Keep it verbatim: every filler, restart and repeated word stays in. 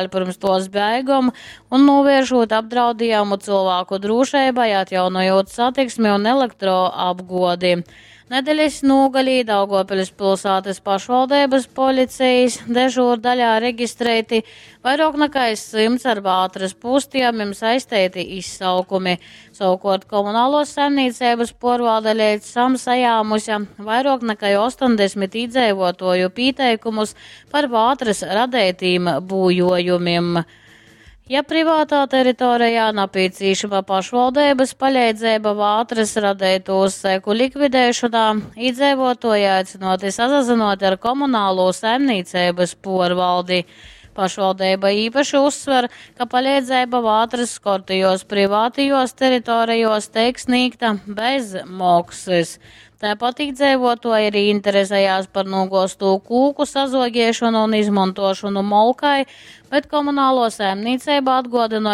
Pyrms tuos beigom un nūvieršūt apdraudiejumu cylvāku drūšeibai, atjaunojūt satiksmi un elektroapguodi. Nedelis nūgalī Daugovpiļs pylsātys pašvaldeibys policejis dežūrdaļā registreiti vairuok nakai symts ar vātrys pūstejumim saisteiti izsaukumi. Sovukuort komunaluos saimnīceibys puorvalde leidz šam sajāmuse vairuok nakai ostoņdesmit īdzeivuotuoju pīteikumus par vātrys radeitīm būjuojumim. Ja privātā teritorejā napīcīšama pašvaldeibys paleidzeiba vātrys radeitūs seku likvideišonā, īdzeivuotuoji aicynuoti sasazynuot ar komunalū saimnīceibys puorvaldi. Pašvaldeiba īpaši uzsver, ka paleidzeiba vātrys skortajuos privātajuos teritorejuos teik snīgta bez moksys. Taipat īdzeivuotuoji arī interesejās par nūguoztū kūku sazuogiešonu un izmontuošonu molkai, bet komunaluo saimnīceiba atguodynoj,